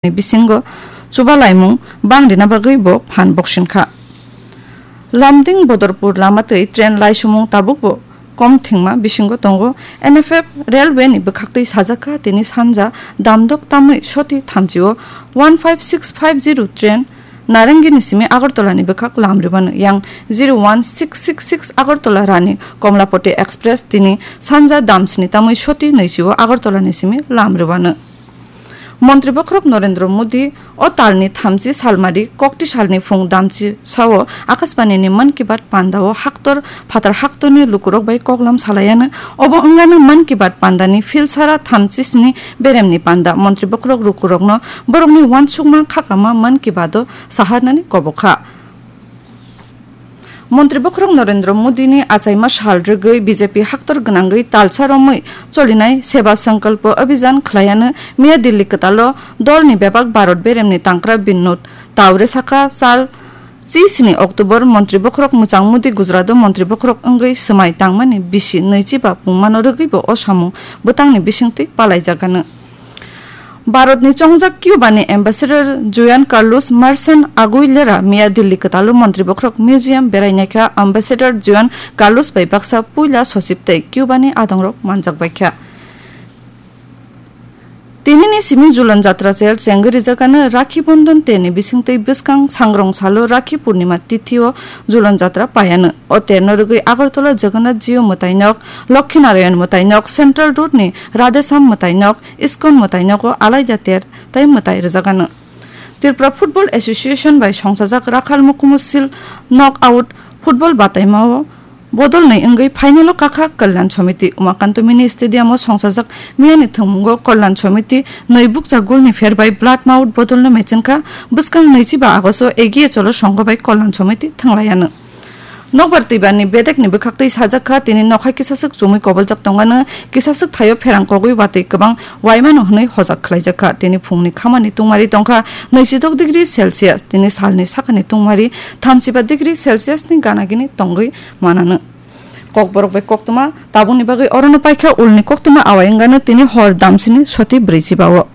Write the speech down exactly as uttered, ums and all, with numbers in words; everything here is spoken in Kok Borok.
ni bisingo chubalaimung bang rina bagwi bo phan boksinkha. Lumding Bodorpur lama twi train laisumung tabukbo kom thwngma bisingo tongo. N F F railway ni bwkhaktwi sajakha, tini sanja damdok tamwi soti thamchio one five six five zero train Narangini simi Agartala ni bwkhak lam rwbano. Yang zero one six six six Agartala Rani Komlapati Express tini sanja damsni tamwi soti nwichio Agartala ni simi lam rwbano. Montri Bokhorok Narendra Modi o talni thamchi salmari kokti salni phung damchi sao Akashbani ni Mann Ki Baat panda o haktor phatar haktorni lukurok bai koklam salaiano. Obo wngano Mann Ki Baat pandani philsara thamchi sni beremni panda. Montri Bokhorok lukurokno borokni uansukma khakama Mann Ki Baat o saharnani kobokha. Montri Bokhorok Narendra Modi ni achaima sal rwgwi B J P haktor gwnangwi talsa romwi cholinai Seva Sankalpo Abhijan khlaiano miya Delhi kwtalo dolni bebak Bharat beremni tangkra Binod Taure saka sal chi sini October Montri Bokhorok mwchang Modi Gujarat o Montri Bokhorok wngwi swmai tangmani bisi nwichiba pungmano rwgwi bo o samung bwtangni bisingtwi palaijagano. Bharatni chongjak Cuba ni Ambassador Juan Carlos Marcin Aguilera miya Delhi kwtalo Montri Bokhorok Museum berai naikha. Ambassador Juan Carlos bai baksa puila sochib tei Cuba ni adongrok manjak baikha. Tinini simi Julan Jatra chel chengwi rijakano. Rakhi Bondon terni bisingtwi bwskang sangrong salo Rakhi Purnima tithi o Julan Jatra paiano. O terno rwgwi Agartala Jagannath Jio mwtainok, Lokhi Narayan mwtainok, Central Road ni Radheshyam mwtainok, Iskon mwtainogo alaida ter tei mwtai rwjagano. Tripura Football Association bai songchajak Rakhal Mukumu Seal Knock Out football bataimao bodolni wngwi final o kakha Kalyan Samiti. Umakanto Mini Stadium o songchajak miyani thwngmungo Kalyan Samiti nwi bukcha goal ni pher bai Blood Mouth bodolno mechenkha. Bwskang nwichiba August o Egiye Cholo songho bai Kalyan Samiti thwnglaiano. Nokbar twibarni bedekni bwkhaktwi sajak kha, tini nokha kisaswk chumui koboljak tongmano, kisaswk thaio pherang kogwi watwi kwbang waimano hwnwi hojak khlaijak kha. Tini phungni khamani tungmari tongkha nwichidok degree Celsius, tini salni sakani tungmari thamchiba degree Celsius ni ganagini tongwi manano. Kokborok bai koktwma tabukni bagwi orono paikha, ulni koktwma awai wngano tini hor damsini soti brwichiba o.